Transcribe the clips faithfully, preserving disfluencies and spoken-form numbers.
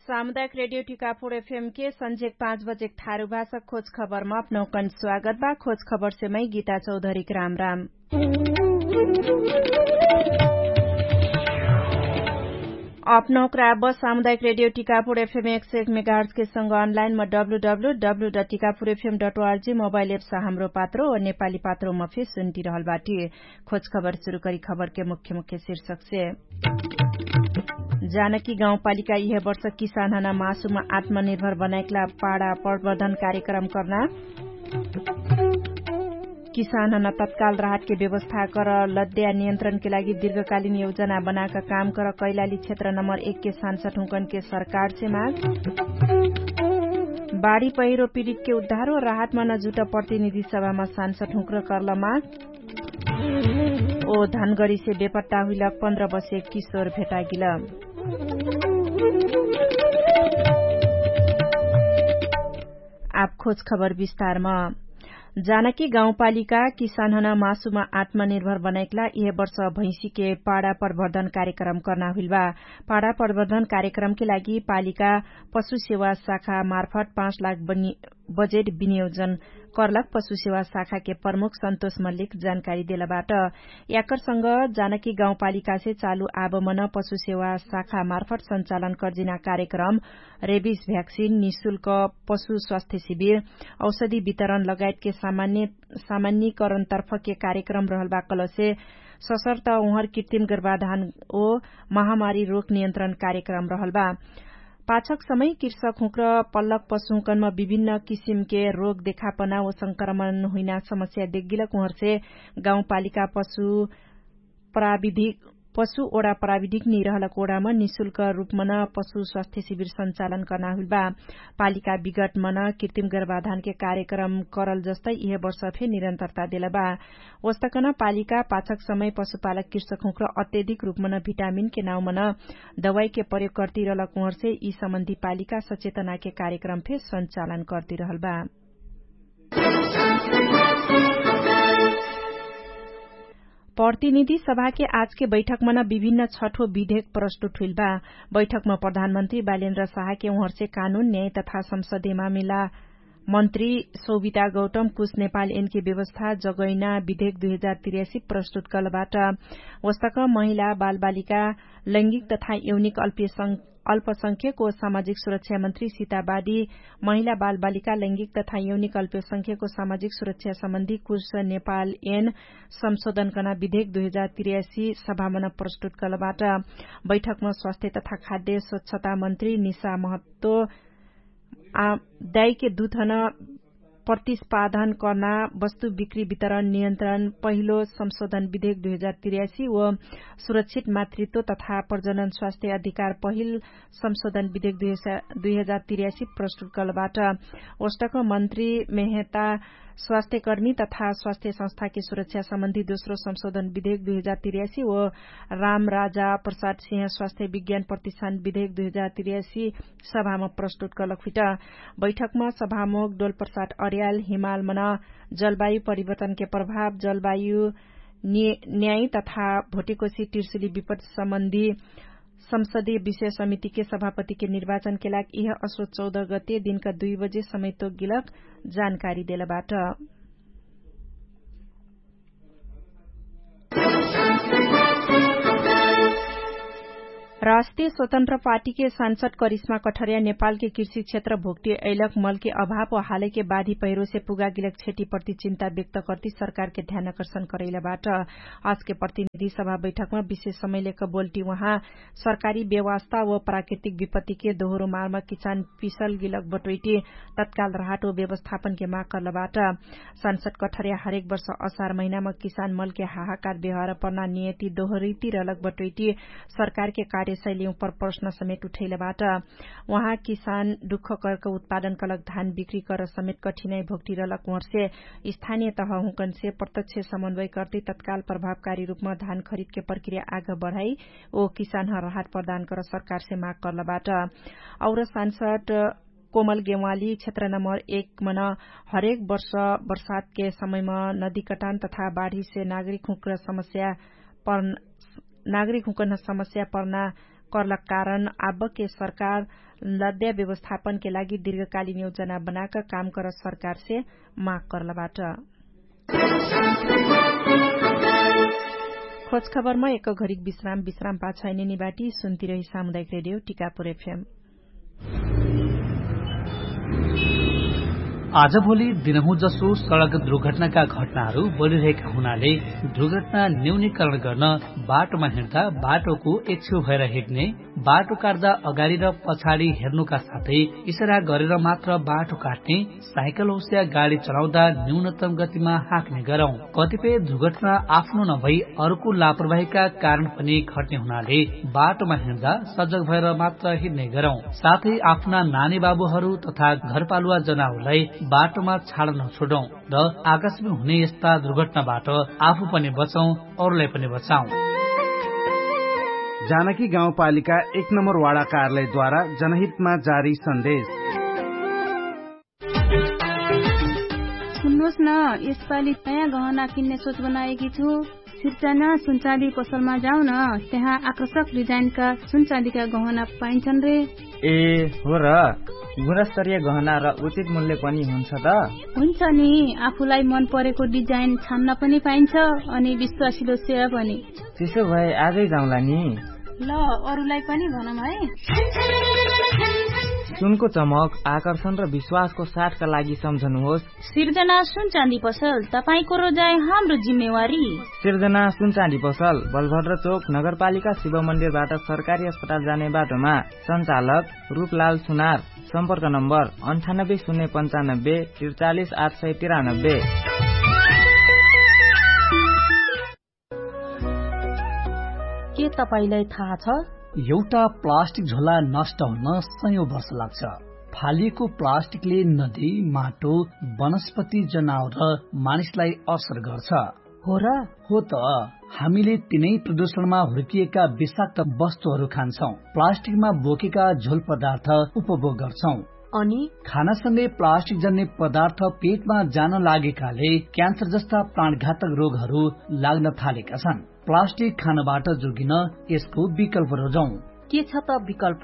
सामुदायिक रेडियो टिकापुर एफएम के सन्झेक पाँच बजेक थारु भाषा खोज खबरमा अपनौकन स्वागत बा। खोज खबर से मै गीता चौधरीक राम राम। अपनौक राब सामुदायिक रेडियो टिकापुर एफएम एक सय एक मेगाहर्ज के संग अनलाइन म W W W dot Tikapur FM dot ORG mobile apps Hamro Patro नेपाली पात्रो म फेर सुन्टिरहल बाटी। खोज खबर सुरु करी खबर के मुख्य मुख्य शीर्षक से। जानकी गाउँपालिका इहे वर्ष किसानहना मासुमा आत्मनिर्भर बनाएकला पाडा प्रवर्धन कार्यक्रम कर्ना। किसानहना तत्काल राहत के व्यवस्था कर लद्या नियन्त्रण के लागि दीर्घकालीन योजना बनाक काम कर कैलाली क्षेत्र नम्बर एक के सांसद हुँकन के सरकार से माग। बाढी पहिरो पिडित के उद्धार हो राहत मन जुट प्रतिनिधि सभामा सांसद हुँक्र कर्ल माग। ओ धनगढीसे बेपट्टा हुइल पन्ध्र बसे किशोर भेटागिल। आप खोज खबर विस्तारमा। जानकी गाउँपालिका किसानहन मासुमा आत्मनिर्भर बनाइकला इहे वर्ष भैँसीके पाडा प्रवर्धन कार्यक्रम कर्ना हुइलबा। पाडा प्रवर्धन कार्यक्रमके लागि पालिका पशु सेवा शाखा मार्फत पाँच लाख बजेट विनियोजन कर्लक पशु सेवा शाखाके प्रमुख सन्तोष मल्लिक जानकारी देलबाट। याकरसँग जानकी गाउँपालिकासे चालु आबमन पशु सेवा शाखा मार्फत सञ्चालन कर्जिना कार्यक्रम रेबिस भ्याक्सिन निशुल्क पशु स्वास्थ्य शिविर औषधि वितरण लगायतके सामान्यकरणतर्फके कार्यक्रम रहलबा कलसे सशर्त उहर कृत्रिम गर्भाधान ओ महामारी रोग नियन्त्रण कार्यक्रम रहलबा। पाछक समय कृषक हुँक्र पल्लक पशुहुँकनमा विभिन्न किसिमके रोग देखापना ओ संक्रमण हुइना समस्या देगिलक उहरसे गाउँपालिका पशु प्राविधिक पशु ओडा प्राविधिक निरहलक ओडामा निशुल्क रुपमन पशु स्वास्थ्य शिविर सञ्चालन कर्ना हुइलबा। पालिका विगटमन कृत्रिम गर्भाधानके कार्यक्रम करल जस्तै इहे वर्ष फे निरन्तरता देलबा। ओस्तकन पालिका पाछक समय पशुपालक कृषक हुँक्र अत्यधिक रुपमन भिटामिनके नाउँमन दवाईके प्रयोग कर्तिरहलक उहरसे यी सम्बन्धी पालिका सचेतनाके कार्यक्रम फे सञ्चालन कर्तिरहलबा। प्रतिनिधि सभाके आजके बैठकमन विभिन्न छठो विधेक प्रस्तुत हुइलबा। बैठकम प्रधानमन्त्री बालेन्द्र साहके उहरसे कानुन न्याय तथा संसदीय मामिला मन्त्री सोभिता गौतम कुछ नेपाल एनके व्यवस्था जगैना विधेक दुई हजार तिर्यासी प्रस्तुत कलबाट। ओस्तक महिला बालबालिका लैङ्गिक तथा यौनिक अल्पसंख्यक ओ सामाजिक सुरक्षा मन्त्री सिताबादी महिला बालबालिका लैङ्गिक तथा यौनिक अल्पसंख्यक ओ सामाजिक सुरक्षा सम्बन्धी कुछ नेपाल एन संशोधनकना विधेक दुई हजार तिर्यासी सभामन प्रस्तुत कलबाट। बैठकम स्वास्थ्य तथा खाद्य स्वच्छता मन्त्री निशा महत्व दाइके दुथन प्रतिस्पादन कर्ना वस्तु बिक्री वितरण नियन्त्रण पहिलो संशोधन विधेक दुई हजार तिर्यासी ओ सुरक्षित मातृत्व तथा प्रजनन स्वास्थ्य अधिकार पहिल संशोधन विधेक दुई हजार तिर्यासी प्रस्तुत कलबाट। ओस्टक मन्त्री मेहता स्वास्थ्यकर्मी तथा स्वास्थ्य संस्थाके सुरक्षा सम्बन्धी दोस्रो संशोधन विधेक दुई हजार तिर्यासी ओ राम राजा प्रसाद सिंह स्वास्थ्य विज्ञान प्रतिष्ठान विधेक दुई हजार तिर्यासी सभाम प्रस्तुत कलक फिट। बैठकम सभामुख डोलप्रसाद अर्याल हिमालमन जलवायु परिवर्तनके प्रभाव जलवायु न्याय तथा भोटिकोसी तिर्सुली विपद सम्बन्धी संसदीय विषय समितिके सभापतिके निर्वाचनके लाग इह अश्व चौध गते दिनका दुई बजे समयतोक गिलक जानकारी देलबाट। राष्ट्रिय स्वतन्त्र पार्टीके सांसद करिश्मा कठर्या नेपालके कृषि क्षेत्र भोक्टी अइलक मलके अभाव व हालैके बाधी पहिरोसे पुगागिलक क्षति प्रति चिन्ता व्यक्त कर्ति सरकारके ध्यानाकर्षण करैलबाट। आजके प्रतिनिधि सभा बैठकमा विशेष समयलेक बोल्टी उहाँ सरकारी व्यवस्था व प्राकृतिक विपत्तिके दोहोरो मार्म किचान पिसल गिलक बटोइटी तत्काल राहट व व्यवस्थापनके माग कर्लबाट। सांसद कठर्या हरेक वर्ष असार महिनामा किसान मलके हाहाकार व्यवहार पर्ना नियति दोहरिति रहलक बटोइटी सरकारके कार्यशैली उपर प्रश्न समेट उठैलबाट। उहाँ किसान दुःख कर्क उत्पादन कलक धान बिक्री कर समेट कठिनाइ भोक्टी रहलक उहरसे स्थानिय तह हुँकनसे प्रत्यक्ष समन्वय कर्ति तत्काल प्रभावकारी रुपमा धान खरिदके प्रक्रिया आग बढाइ ओ किसानह राहत प्रदान कर सरकारसे माग कर्लबाट। और सांसद कोमल गेवाली क्षेत्र नम्बर एक मन हरेक वर्ष वर्षातके समयमा नदी कटान तथा बाढीसे नागरिक हुँक्र समस्या नागरिक हुँक्र समस्या पर्ना कर्लक कारण आबके सरकार लद्या व्यवस्थापनके लागि दीर्घकालीन योजना बनाक काम कर सरकारसे माग कर्लबाट। खोजखबरमा एक घरिक विश्राम विश्राम पाछाइने निबाटी सुन्तिरही सामुदायिक रेडियो टिकापुर एफएम। आजभोलि दिनहुँ जसो सडक दुर्घटनाका घटनाहरू बढिरहेका हुनाले दुर्घटना न्यूनीकरण गर्न बाटोमा हिँड्दा बाटोको एक्छेउ भएर हिँड्ने, बाटो काट्दा अगाडि र पछाडि हेर्नुका साथै इसारा गरेर मात्र बाटो काट्ने, साइकल होस्या गाडी चलाउँदा न्यूनतम गतिमा हाँक्ने गरौँ। कतिपय दुर्घटना आफ्नो नभई अरूको लापरवाहीका कारण पनि घट्ने हुनाले बाटोमा हिँड्दा सजग भएर मात्र हिँड्ने गरौँ। साथै आफ्ना नानी बाबुहरू तथा घरपालुवा जनाउलाई बाटोमा छाड नछोडौँ र आकाशमा हुने यस्ता दुर्घटनाबाट आफू पनि बचौँ, अरूलाई पनि बचाउँ। जानकी गाउँपालिका एक नम्बर वाडा कार्यालयद्वारा जनहितमा जारी सन्देश। सुन्नुस न, यसपालि नयाँ गहना किन्ने सोच बनाएकी छु। सिर्जना सुनचाँदी पसलमा जाउन, त्यहाँ आकर्षक डिजाइनका सुनचाँदीका गहना पाइन्छन् रे। ए, हो र। गुणस्तरीय गहना र उचित मूल्य पनि हुन्छ त? हुन्छ नि। आफूलाई मन परेको डिजाइन छान्न पनि पाइन्छ, अनि विश्वासिलो सेवा पनि। त्यसो भए आजै जाउँला नि। ल, अरूलाई पनि भनौँ है। सुनको चमक, आकर्षण र विश्वासको साथका लागि सम्झनुहोस्। सिर्जना सुनचाँदी पसल, तपाईंको रोजाइ हाम्रो जिम्मेवारी। सिर्जना सुनचाँदी पसल, बलभद्र चोक, नगरपालिका शिव मन्दिरबाट सरकारी अस्पताल जाने बाटोमा। सञ्चालक रूपलाल सुनार। सम्पर्क नम्बर अन्ठानब्बे शून्य पन्चानब्बे त्रिचालिस आठ सय तिरानब्बे। के तपाईंलाई थाहा छ? एउटा प्लास्टिक झोला नष्ट हुन सयौं वर्ष लाग्छ। फालिएको प्लास्टिकले नदी, माटो, वनस्पति, जनावर र मानिसलाई असर गर्छ। हो र? हो त। हामीले तिनै प्रदूषणमा हुर्किएका विषाक्त वस्तुहरू खान्छौं, प्लास्टिकमा बोकेका झोल पदार्थ उपभोग गर्छौं। अनि? खानासँगै प्लास्टिक जन्ने पदार्थ पेटमा जान लागेकाले क्यान्सर जस्ता प्राणघातक रोगहरू लाग्न थालेका छन्। प्लास्टिक खानबाट जोगिन यसको विकल्प रोजौं। के छ त विकल्प?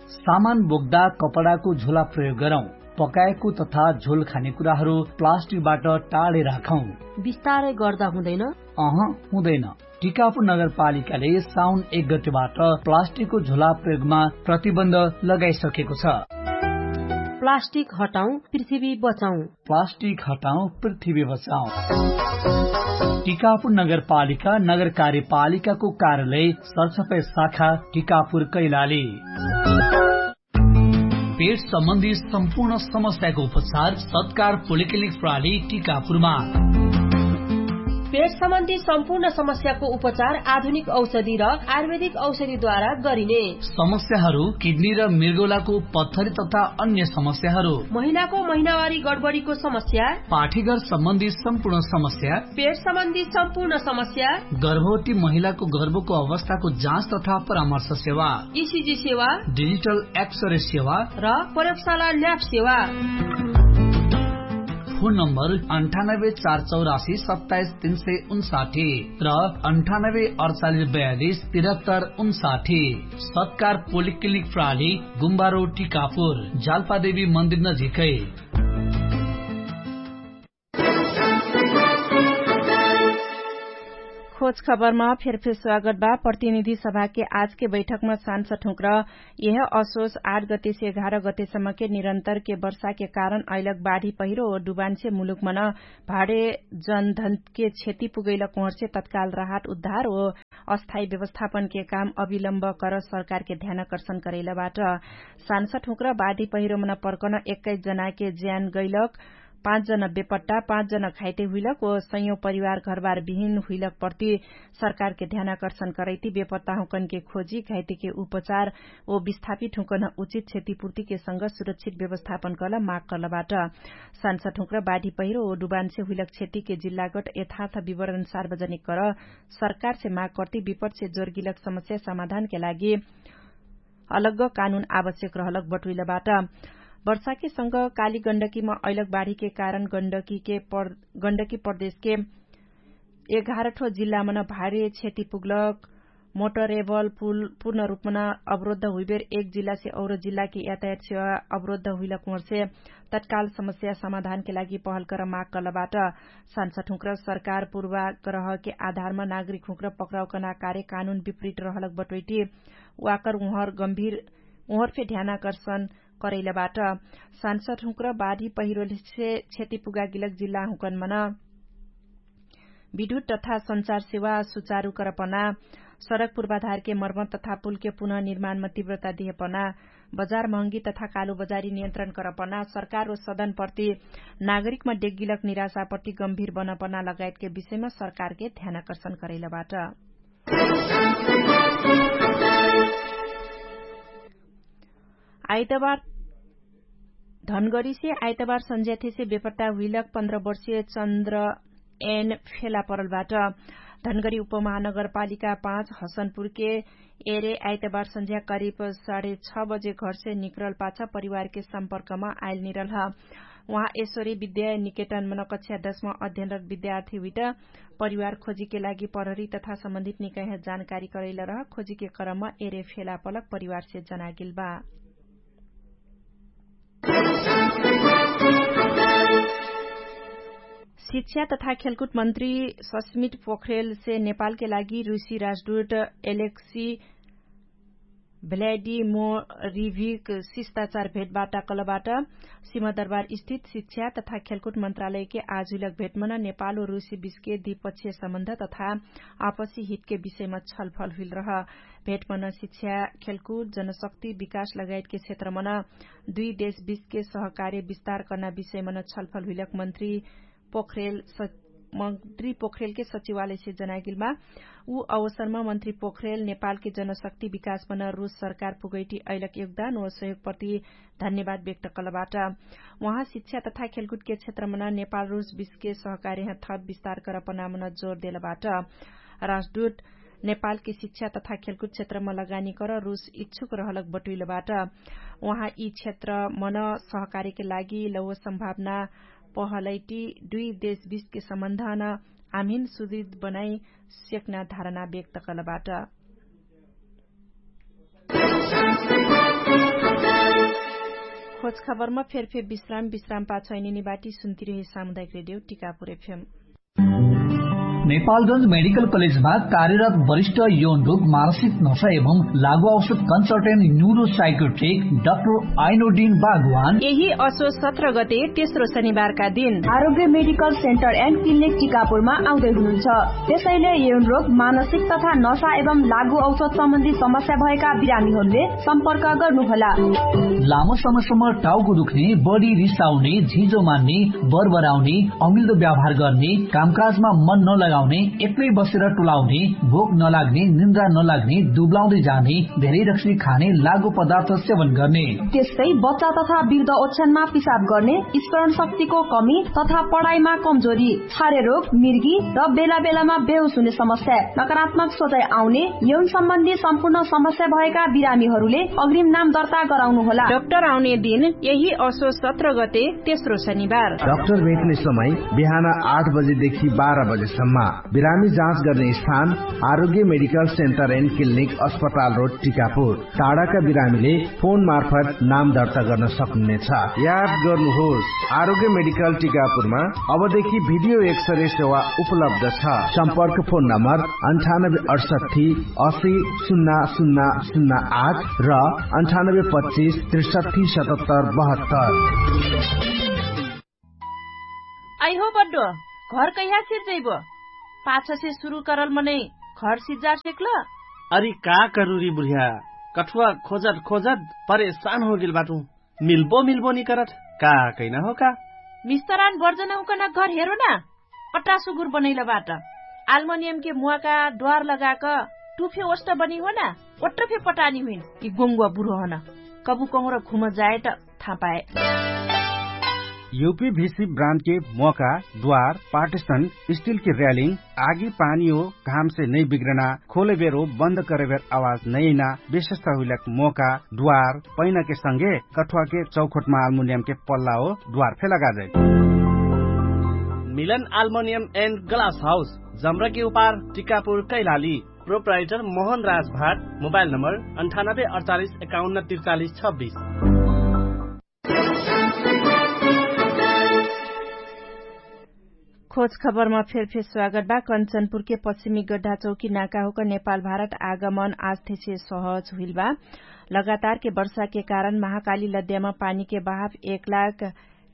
सामान बोक्दा कपडाको झोला प्रयोग गरौं। पकाएको तथा झोल खाने कुराहरू प्लास्टिकबाट टाढै राखौं। बिस्तारै गर्दा हुँदैन? अह, हुँदैन। टिकापुर नगरपालिकाले साउन एक गतेबाट प्लास्टिकको झोला प्रयोगमा प्रतिबन्ध लगाइसकेको छ। प्लास्टिक हटाउँ, पृथ्वी बचाउँ। प्लास्टिक हटाउँ, पृथ्वी बचाउँ। टिकापुर नगरपालिका नगर कार्यपालिकाको कार्यालय सरसफाइ शाखा टिकापुर कैलाली। पेट सम्बन्धी सम्पूर्ण समस्याको उपचार सत्कार पोलिक्लिनिक प्रणाली टिकापुरमा। पेट सम्बन्धी सम्पूर्ण समस्याको उपचार आधुनिक औषधि र आयुर्वेदिक औषधिद्वारा गरिने। समस्याहरू किडनी र मृगौलाको पत्थरी तथा अन्य समस्याहरू। महिनाको महिनावारी गडबडीको समस्या। पाठीघर सम्बन्धी सम्पूर्ण समस्या। पेट सम्बन्धी सम्पूर्ण समस्या। गर्भवती महिलाको गर्भको अवस्थाको जाँच तथा परामर्श सेवा। इसिजी सेवा। डिजिटल एक्सरे सेवा। र प्रयोगशाला ल्याब सेवा। फोन नम्बर अन्ठानब्बे चार चौरासी सत्ताइस तीन सय उन्साठी र अन्ठानब्बे अडचालिस बयालिस तिरहत्तर उन्साठी। सत्कार पोलिक्लिनिक प्रणाली, गुम्बारो टिकापुर, जाल्पादेवी मन्दिर नजिकै। खोज खबरमा फेरफेर स्वागत बा। प्रतिनिधि सभाके आजके बैठकमा सांसद हुँक्र यह असोस आठ गतेसे एघार गतेसम्मके निरन्तरके वर्षाके कारण अइलक बाढी पहिरो ओ डुबानसे मुलुकमन भाडे जनधनके क्षति पुगैलक उहर्से तत्काल राहत उद्धार ओ अस्थायी व्यवस्थापनके काम अविलम्ब कर सरकारके ध्यानाकर्षण करैलबाट। सांसद हुँक्र बाढी पहिरोमन पर्कन एक्काइस जनाके ज्यान गैलक, पाँच जन बेपट्टा, पाँच जन घाइते हुइलक ओ सयौं परिवार घरबार बिहिन हुइलक प्रति सरकारके ध्यानाकर्षण करैति बेपट्टा हुँकनके खोजी, घाइतेके उपचार ओ विस्थापित हुँकन उचित क्षतिपूर्तिके संग सुरक्षित व्यवस्थापन कल माग कलबाट। सांसद हुँक्र बाढी पहिरो ओ डुबानसे हुइलक क्षतिके जिल्लागट यथार्थ विवरण सार्वजनिक कर सरकारसे माग कर्ति विपटसे जोर्गिलक समस्या समाधानके लागि अलग्ग कानुन आवश्यक रहलक बटुइलबाट। वर्षाके संग काली गण्डकीमा अइलक बाढीके कारण गण्डकीके पर गण्डकी प्रदेशके एघार ठो जिल्लामन भारी क्षति पुग्लक मोटरेबल पुल पूर्ण रूपमा अवरोद्ध हुइबेर एक जिल्लासे और जिल्लाके यातायात सेवा अवरोद्ध हुइलक उहरसे तत्काल समस्या समाधानके लागि पहल कर माग कलबाट। सांसद हुँक्र सरकार पूर्वाग्रहके आधारमा नागरिक हुँक्र पक्राउ कना कार्य कानुन विपरीत रहलक बटोइटी वाकर उहर गम्भीर उहर फे ध्यानाकर्षण करैलबाट। सांसद हुँक्र बाढी पहिरोलसे क्षति पुगागिलक जिल्ला हुँकन मन विद्युत तथा सञ्चार सेवा सुचारु करपना, सडक पूर्वाधारके मर्मत तथा पुलके पुनः निर्माणमा तीव्रता दिहेपना, बजार महँगी तथा कालु बजारी नियन्त्रण करपना, सरकार व सदनप्रति नागरिकमा डेग्गिलक निराशाप्रति गम्भीर बनपना लगायतके विषयमा सरकारके ध्यानाकर्षण करैलबाट। आइतबार धनगढीसे आइतबार सन्ज्याथेसे बेपट्टा हुइलक पन्ध्र वर्षीय चन्द्र एन फेला परलबाट। धनगढी उपमहानगरपालिका पाँच हसनपुरके एरे आइतबार सन्ज्या करिब साढे छ बजे घरसे निकरल पाछ परिवारके सम्पर्कमा आइल निरल ह। उहाँ एश्वरी विद्या निकेतन मन कक्षा दसमा अध्ययनरत विद्यार्थी हुइट परिवार खोजीके लागि प्रहरी तथा सम्बन्धित निकाइह जानकारी करैल रह खोजीके क्रम एरे फेला पलक परिवारसे जनागेल बा। शिक्षा तथा खेलकुट मन्त्री सस्मित पोखरेलसे नेपालके लागि रुसी राजदूत एलेक्सी भ्ल्याडिमोरिभिक शिष्टाचार भेटवार्ता कलबाट। सिमदरबार स्थित शिक्षा तथा खेलकुट मन्त्रालयके आजुइलक भेटमन नेपाल व रुसी बिचके द्विपक्षीय सम्बन्ध तथा आपसी हितके विषयमा छलफल हुइल रह। भेटमन शिक्षा, खेलकुट, जनशक्ति विकास लगायतके क्षेत्रमन दुई देशबिचके सहकार्य विस्तार कर्ना विषयमन छलफल हुइलक मन्त्री पोखरेल मन्त्री पोखरेलके सचिवालयसे जनाइगेलमा। उ अवसरमा मन्त्री पोखरेल नेपालके जनशक्ति विकासमन रुस सरकार पुगैटी अइलक योगदान व सहयोगप्रति धन्यवाद व्यक्त कलबाट। उहाँ शिक्षा तथा खेलकुटके क्षेत्रमन नेपाल रुस बिचके सहकार्यह थप विस्तार करपनामन जोर देलबाट। राजदूत नेपालके शिक्षा तथा खेलकुट क्षेत्रमा लगानी कर रुस इच्छुक रहलक बटुइलबाट। उहाँ यि क्षेत्रमन सहकार्यके लागि लौव सम्भावना पहलैटी दुई देशबिचके सम्बन्धन आमिन सुदृढ बनाइ सेक्ना धारणा व्यक्त कलबाट। खोजखबरमा फेरफेर विश्राम विश्राम पाछ ऐनिनी बाटी सुन्तिरहे सामुदायिक रेडियो टिकापुर एफएम। नेपालगंज मेडिकल कलेजमा कार्यरत वरिष्ठ यौन रोग मानसिक नशा एवं लागु औषध कन्सल्टेन्ट न्युरो साइकोट्रिक डाक्टर आइनोडिन बागवान यही असो सत्र गते तेस्रो शनिबारका दिन आरोग्य मेडिकल सेन्टर एन्ड क्लिनिक टिकापुरमा आउँदै हुनुहुन्छ। त्यसैले यौन रोग मानसिक तथा नशा एवं लागु औषध सम्बन्धी समस्या भएका बिरामीहरूले सम्पर्क गर्नुहोला। लामो समयसम्म टाउको दुख्ने, बढी रिसाउने, झिजो मान्ने, बरबराउने, अमिल्दो व्यवहार गर्ने, कामकाजमा मन नलगाउने, एक्लै बसेर टुलाउने, भोक नलाग्ने, निन्द्रा नलाग्ने, दुब्लाउँदै जाने, धेरै रक्सी खाने, लागु पदार्थ सेवन गर्ने। त्यस्तै बच्चा तथा वृद्ध ओछ्यानमा पिसाब गर्ने, स्मरण शक्तिको कमी तथा पढाइमा कमजोरी, छारे रोग, मिर्गी र बेला बेलामा बेहोस हुने समस्या, नकारात्मक सोचाइ आउने, यौन सम्बन्धी सम्पूर्ण समस्या भएका बिरामीहरूले अग्रिम नाम दर्ता गराउनुहोला। डाक्टर आउने दिन यही असो सत्र गते तेस्रो शनिबार। डाक्टर भेट्ने समय बिहान आठ बजेदेखि बाह्र बजेसम्म। बिरामी जाँच गर्ने स्थान आरोग्य मेडिकल सेन्टर एन्ड क्लिनिक अस्पताल रोड टिकापुर। टाढाका बिरामीले फोन मार्फत नाम दर्ता गर्न सक्नुहुनेछ। याद गर्नुहोस्, आरोग्य मेडिकल टिकापुरमा अबदेखि भिडियो एक्सरे सेवा उपलब्ध छ। सम्पर्क फोन नम्बर अन्ठानब्बे अडसट्ठी असी सुन्ना सुन्ना सुन्ना आठ र अन्ठानब्बे पच्चिस त्रिसट्ठी सतहत्तर बहत्तर। आइहो बड्डो, घर कैहा सिर्जैबो? पाछसे सुरु करल मनै घर सिज्जार सेक्ल? अरि का करुरी बुढिया, कठुवा खोजत खोजत परेशान होगेल बाटु। मिल्बो मिल्बो निकरत का कैना हो का? मिस्तरान बर्जन हुकन घर हेरो ना। पट्टा सुगुर बनैल बाट। आल्मनियमके मुवाका द्वार लगाक टुफे ओष्ट बनी हो ना। ओट्ट फे पटानी हुइन। यि गोङ्गुवा बुढो हन। कबु कहुँर घुम जाए त थाहा पाए। युपी भिसी ब्रान्डके मोका, द्वार, पार्टिसन, स्टिलके र्यालिङ, आगी पानी हो घामसे नै बिग्रना, खोले बेरो बन्द करे बेर आवाज नै अइना विशेषता हुइलक मोका, द्वार, पैनाके संगे कठुवाके चौखोटमा आल्मुनियमके पल्ला हो द्वार फे लगाजै। मिलन आल्मुनियम एन्ड ग्लास हाउस, जम्रके उपार, टिकापुर, कैलाली। प्रोप्राइटर मोहन राज भाट, मोबाइल नम्बर अन्ठानब्बे अडचालिस एकाउन्न त्रिचालिस छब्बिस। खोज खबरमा फेरफेर स्वागत बा। कन्चनपुरके पश्चिमी गड्ढाचौकी नाकाहुक नेपाल भारत आगमन आस्थेसे सहज हुइल बा। लगातारके वर्षाके कारण महाकाली लद्यामा पानीके बहाफ एक लाख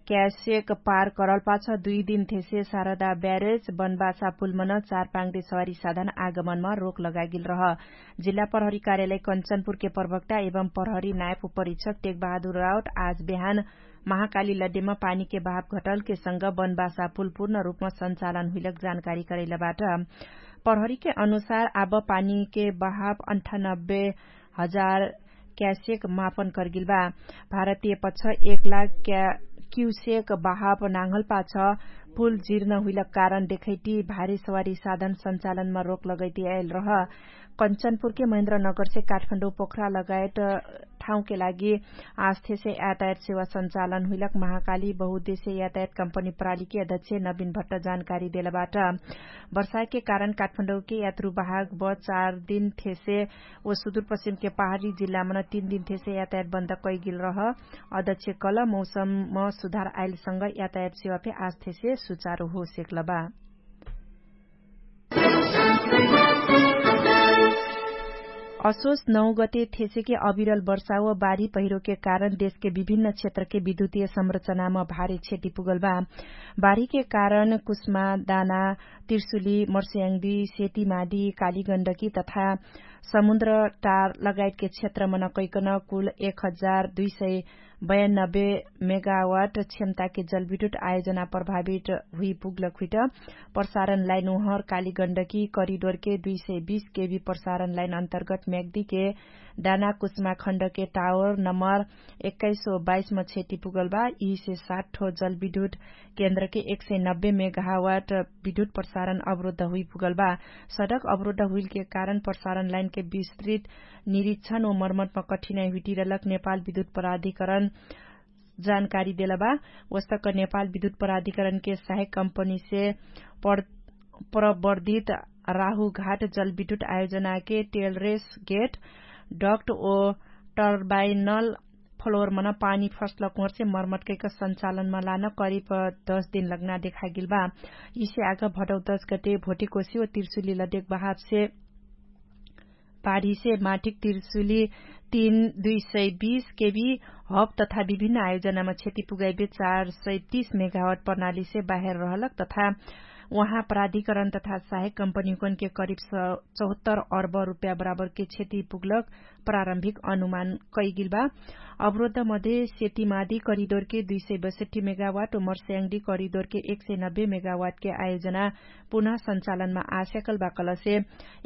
क्यासेक पार करल पाछ दुई दिन थेसे सारदा ब्यारेज बनबासा पुलमन चार पाङ्दे सवारी साधन आगमनमा रोक लगागिल रह। जिल्ला प्रहरी कार्यालय कन्चनपुरके प्रवक्ता एवं प्रहरी नायप उपरीक्षक टेकबहादुर राउट आज बेहान महाकाली लड्डेमा पानीके बहाफ घटलके संग बनबासा पुल पूर्ण रूपमा सञ्चालन हुइलक जानकारी करैलबाट। प्रहरीके अनुसार आब पानीके बहाफ अन्ठानब्बे हजार क्यासेक मापन करगिल बा। भारतीय पछ एक लाख क्यासेक बहाफ नाङ्हल पाछ पुल जिर्न हुइलक कारण देखैटी भारी सवारी साधन सञ्चालनमा रोक लगैटी आइल रह। कन्चनपुरके महेन्द्र नगरसे काठमाडौं पोखरा लगायत ठाउँके लागि आस्थेसे यातायात सेवा सञ्चालन हुइलक महाकाली बहुद्देश्य यातायात कम्पनी प्रालीके अध्यक्ष नवीन भट्ट जानकारी देलबाट। वर्षाके कारण काठमाडौंके यात्रु बाहक बस चार दिन थेसे ओ सुदुरपश्चिमके पहाडी जिल्लामन तीन दिन थेसे यातायात बन्द कैगिल रह। अध्यक्ष कल मौसमम सुधार आइलसँग यातायात सेवा फे आस्थेसे सुचारु हो सेक्लबा। असोस नौ गते थेसेके अविरल वर्षा व बारी पहिरोके कारण देशके विभिन्न क्षेत्रके विद्युतीय संरचनामा भारी क्षति पुगल बा। बारीके कारण कुस्मा दाना तिर्सुली मर्स्याङ्दी सेतीमादी कालीगण्डकी तथा समुन्द्र टार लगायतके क्षेत्रमन कैकन कुल एक हजार दुई सय बयानब्बे मेगावाट क्षमताके जलविद्युत आयोजना प्रभावित हुइ पुग्लक हुइट। प्रसारण लाइन उहर कालीगण्डकी करिडोरके दुई सय बीस केबी प्रसारण लाइन अन्तर्गत म्याग्दीके दाना कुस्मा खण्डके टावर नम्बर एक्काइस सय बाइसमा क्षति पुगल बा। यिसे सात ठो जलविद्युत केन्द्रके एक सय नब्बे मेगावाट विद्युत प्रसारण अवरोध हुइ पुगल बा। सडक अवरोध हुइलके कारण प्रसारण लाइनके विस्तृत निरीक्षण व मर्मतमा कठिनाइ हुइटिरलक नेपाल विद्युत प्राधिकरण जानकारी देलबा। वस्तक नेपाल विद्युत प्राधिकरणके सहायक कम्पनीसे प्रवर्धित राहुघाट जलविद्युत आयोजनाके टेलरेस गेट डक्ट ओ टर्बाइनल फ्लोरमन पानी फस्लक ओर्से मर्मत कैक सञ्चालनमा लान करिब दस दिन लग्ना देखागिल बा। यिसे आग भटौ दस गते भोटिकोसी व तिर्सुली लदेक बहाफसे पाढीसे माठिक तिर्सुली तीन दुई सय बीस केबी हब तथा विभिन्न आयोजनामा क्षति पुगाइबे चार सय तीस मेगावट प्रणालीसे बाहेर रहलक तथा उहाँ प्राधिकरण तथा सहायक कम्पनीकनके करिब चौहत्तर अर्ब रुप्या बराबरके क्षति पुग्लक प्रारम्भिक अनुमान कैगिल बा। अवरोध मध्ये सेतिमादी करिडोरके दुई सय बैसठी मेगावाट व मर्स्याङ्डी करिडोरके एक सय नब्बे मेगावाटके आयोजना पुनः सञ्चालनमा आस्याकल बाकलसे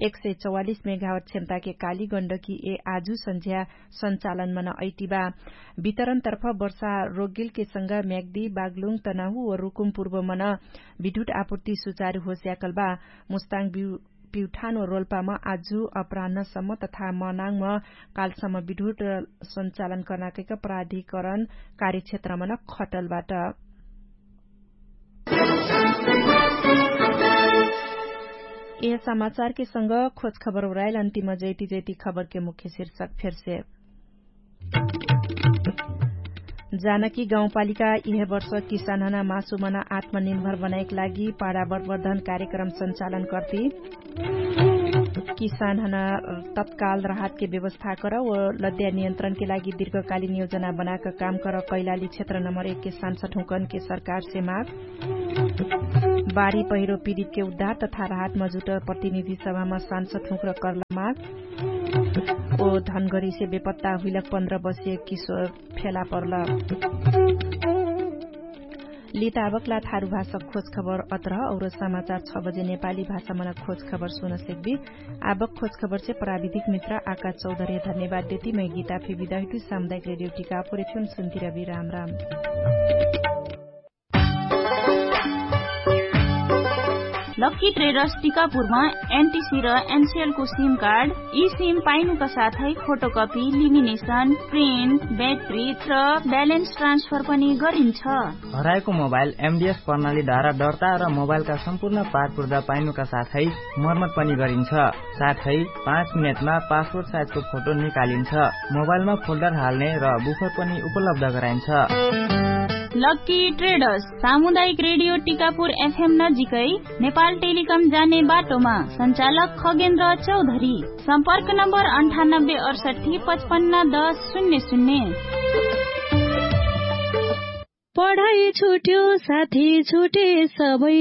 एक सय चौवालिस मेगावाट क्षमताके काली गण्डकी ए आजु सन्झ्या सञ्चालनमा न अइटिबा। वितरणतर्फ वर्षा रोगिलके संग म्याग्दी बागलुङ तनाहु व रुकुम पूर्वमन विद्युत आपुर्ति सुचारु होस्याकल बा। मुस्ताङ बिउ पिउठान व रोल्पाम आजु अपरान्हसम्म तथा मनाङम कालसम्म विद्युत सञ्चालन कर्नाकैक प्राधिकरण कार्यक्षेत्रमन खटलबाट। यह समाचारके संग खोज खबर उराइल अन्तिम जैती जैती खबरके मुख्य शीर्षक फेरसे। जानकी गाउँपालिका यह वर्ष किसानहना मासुमना आत्मनिर्भर बनाएक लागि पाडावर्वर्धन कार्यक्रम सञ्चालन कर्ती। किसानहना तत्काल राहतके व्यवस्था कर व लद्या नियन्त्रणके लागि दीर्घकालीन योजना बनाक काम कर कैलाली क्षेत्र नम्बर एकके सांसद हुँकनके सरकारसे माग। बारी पहिरो पीडितके उद्धार तथा राहत मजुट प्रतिनिधि सभामा सांसद हुँक्र कर्ला माग। ओ धनगरीसे बेपत्ता हुइलक पन्ध्र बसिय किशोर फेला पर्ल। लिताबकला थारु भाषा खोज खबर अत्रह और समाचार छ बजे नेपाली भाषा मना खोज खबर सुन सेक्बी। आबक खोज खबर से प्राविधिक मित्र आका चौधरे धन्यवाद देती मै गीता फे बिदाहिटु सामुदायिक रेडियो टिका पुरेथ्युन सुन्तिरबी राम राम। लक्की ट्रेडर्स टिकापुरमा एनटिसी र एनसिएलको सिम कार्ड, ई सिम पाइनुका साथै फोटोकपी, लिमिनेसन, प्रिन्ट, ब्याट्री र ब्यालेन्स ट्रान्सफर पनि गरिन्छ। हराएको मोबाइल एमडिएस प्रणालीद्वारा दर्ता र मोबाइलका सम्पूर्ण पारपुर्दा पाइनुका साथै मर्मत पनि गरिन्छ। साथै पाँच मिनेटमा पासपोर्ट साइजको फोटो निकालिन्छ। मोबाइलमा फोल्डर हाल्ने र बुफर पनि उपलब्ध गराइन्छ। लक्की ट्रेडर्स, सामुदायिक रेडियो टिकापुर एफएम नजिकै, नेपाल टेलिकम जाने बाटोमा। सञ्चालक खगेन्द्र चौधरी। सम्पर्क नम्बर अन्ठानब्बे अडसट्ठी पचपन्न दस शून्य शून्य। पढाइ छुट्यो, साथी छुटे, सबै